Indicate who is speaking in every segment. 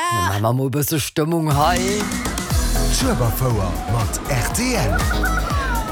Speaker 1: Maache mer mol e bësse Stëmmung hei.
Speaker 2: D'Schueberfouer mat rtl.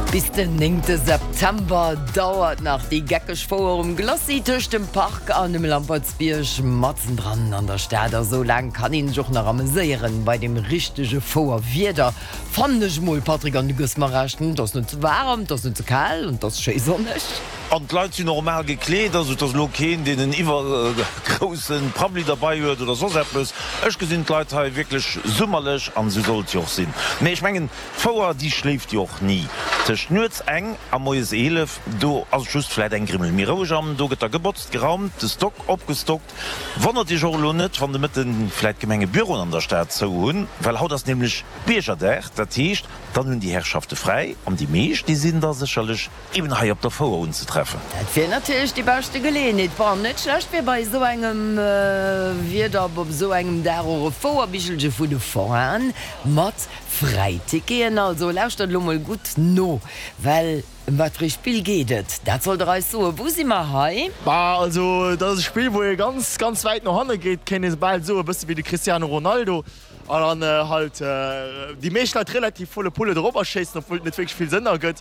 Speaker 1: Bis den néngte September dauert nach déi geckeg Fouer um Glacis tëscht dem Park an dem Lampertsbierg matzendran an der Stad. A sou laang kann een sech och nach ameséieren bei dem richtege Fouerwieder, fannen ech mol, Patrick, an du gëss mer Recht, et ass net ze waarem, et ass net ze kal an et ass schéi sonneg.
Speaker 3: An d'Leit sinn normal gekleet, also et ass elo keen, deen en iwwergrousse Prabbeli derbei huet oder soss eppes. Ech gesinn d'Leit hei wierklech summerlech an esou soll et jo och sinn. Mee ech mengen, d'Fouer, déi schléift jo och ni. Tëscht nuets eng a moies 11, do ass et just vläit eng Grimmel méi roueg an do gëtt da gebotzt, geraumt, de Stock opgestockt. Wonnert Iech och elo net, wann de Mëtten vläit d'Gemengebüroen an der Stad zou hunn, well haut ass nämlech Biergerdag. Dat heescht, dann hunn déi Herrschafte fräi an déi meescht, déi sinn da sécherlech Eben hei op der Fouer unzetreffen.
Speaker 1: Dat wier natierlech déi beschte Geleeënheet. Bon, net schlecht wier bei esou engem Wieder op esou engem Dag och e Fouerbichelche vu de Forainen mat Fräiticketen. Also lauschtert elo mol gutt no, well ëm wat fir ee Spill geet et? Dat sollt der eis soen. Wou si mer hei?
Speaker 4: Bah, also dat ass e Spill, wou ee ganz, ganz wäit no hanne geet, kéint ee bal soen, e bësse wéi de Cristiano Ronaldo. An dann halt déi meescht Leit relativ volle Pulle dorobber schéissen, obwuel et net wierklech vill Sënn ergëtt.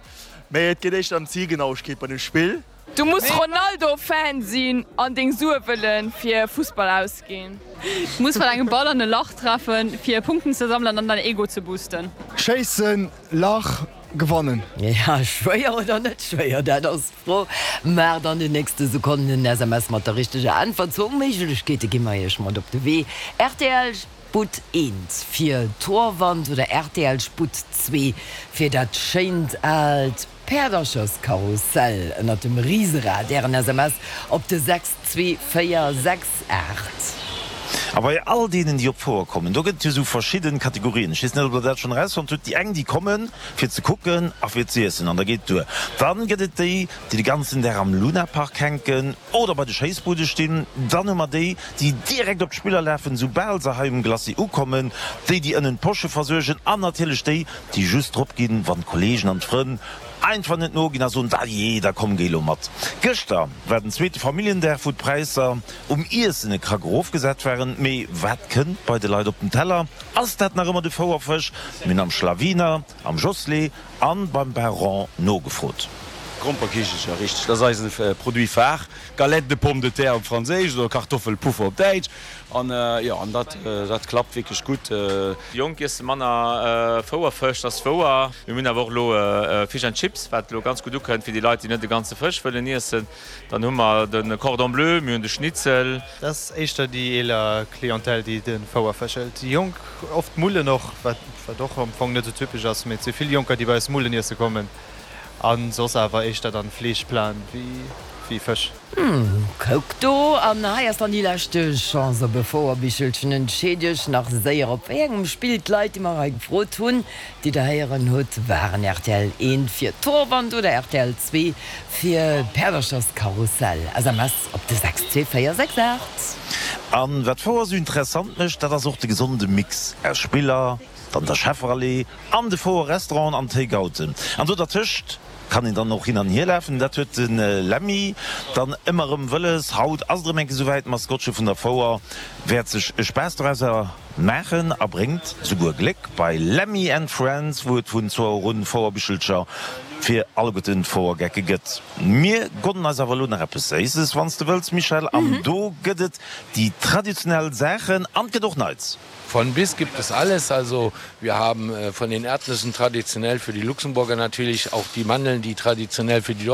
Speaker 4: Mee et geet éischter ëm d'Zielgenauegkeet bei dem Spill.
Speaker 5: Du muss Ronaldo Fan sinn an deng Sue wëllen fir Fussball ausginn.
Speaker 6: Du muss mat engem Ball an e Lach treffen fir Punkten ze sammelen an däin Ego ze boosten.
Speaker 4: Schéissen, Lach, gewannen.
Speaker 1: Ja, schwéier oder net schwéier, dat ass d'Fro. Maacht an den nächste Sekonnen en SMS mat der richteger Äntwert. Zwou Méiglechkeete gi mer iech mat op de Wee, rtl. Sputt eent fir d'Torwand oder rtl Sputt zwee fir dat schéint aalt Päerdercherskarussell ënnert dem Riserad. Ären SMS op de 62468.
Speaker 3: A bei all deenen, déi op d'Fouer kommen, do gëtt et jo esou verschidden Kategorien. Ech weess net, ob Der dat schonn erausfonnt hutt. Déi eng, déi kommen, fir ze kucken a fir z'iessen, an da geet et duer. Dann gëtt et déi, déi de ganzen Dag am Lunapark hänken oder bei de Schéissbude stinn. Dann hu mer déi, déi direkt op d'Spiller lafen, soubal se hei um Glacis ukommen, déi, déi ënnen d'Posche versuergen an natierlech déi, déi just drop ginn, wann d'Kollegen an d'Frënn einfach net noginn a soen, Dajee, da komm, géi lo mat. Gëschter war den zweete Familljendag, wou d'Präisser um Iessen e Krack erofgesat waren. Mee wat kënnt bei de Leit op den Teller? Ass dat nach ëmmer de Fouerfësch? Mir hunn am Schlawiner, am Josslé an beim Baron nogefrot.
Speaker 7: Gromperkichelcher, richteg, dat ass eisen Produit phare. Galette de pommes de terre op Franséisch oder Kartoffelpuffer op Däitsch. An jo, an dat, dat klappt wierklech gutt.
Speaker 8: Déi Jonk iesse manner Fouerfësch, dat ass wouer. Mir hunn awer och elo Fish and Chips, wat elo ganz gutt ukënnt fir déi Leit, déi net de ganze Fësch wëllen iessen. Dann hu mer de Cordon bleu, mir hunn de Schnitzel.
Speaker 9: Dat ass éischter déi eeler Clientèle, déi de Fouerfësch hëlt. Déi Jonk, oft Mullen och, wat och am Fong net esou typesch ass, mee et si vill Jonker, déi bei eis Mullen iesse kommen. A soss awer éischter dann Fleeschplan wéi Fësch.
Speaker 1: Kuck do, an hei ass dann déi leschte Chance op e Fouerbichelchen. Entscheet iech nach séier op wéi engem Spill d'Leit, déi mer hei gefrot hunn, déi der héieren hutt, waren rtl 1 fir d'Torwand oder rtl 2 fir d'Päerdercherskarussell. SMS op de 62468.
Speaker 3: An wat d'Fouer esou interessant mécht, dat ass och de gesonde Mix aus Spiller, dann der Schefferallee, An de Fouer Restauranten an Takeouten. An do dertëscht kann een dann och hin an hier lafen. Dat huet de Lemmy dann ëmmer erëm wëlles. Haut ass et erëm eng Kéier esouwäit, d'Maskottche vun der Fouer wäert sech e Spaass dorauser maachen a bréngt souguer Gléck bei Lemmy and Friends, wou et vun zwou Auer un Fouerbichelcher fir alleguerten d'Fouergecke gëtt. Mir gonnen eis awer elo nach eppes Séisses, wann s de wëlls, Michèle. An do gëtt et déi traditionell Saachen an et gëtt och Neits.
Speaker 7: Von bis gibt es alles. Also wir haben von den Erdnüssen traditionell für die Luxemburger natürlich auch die Mandeln, die traditionell für die.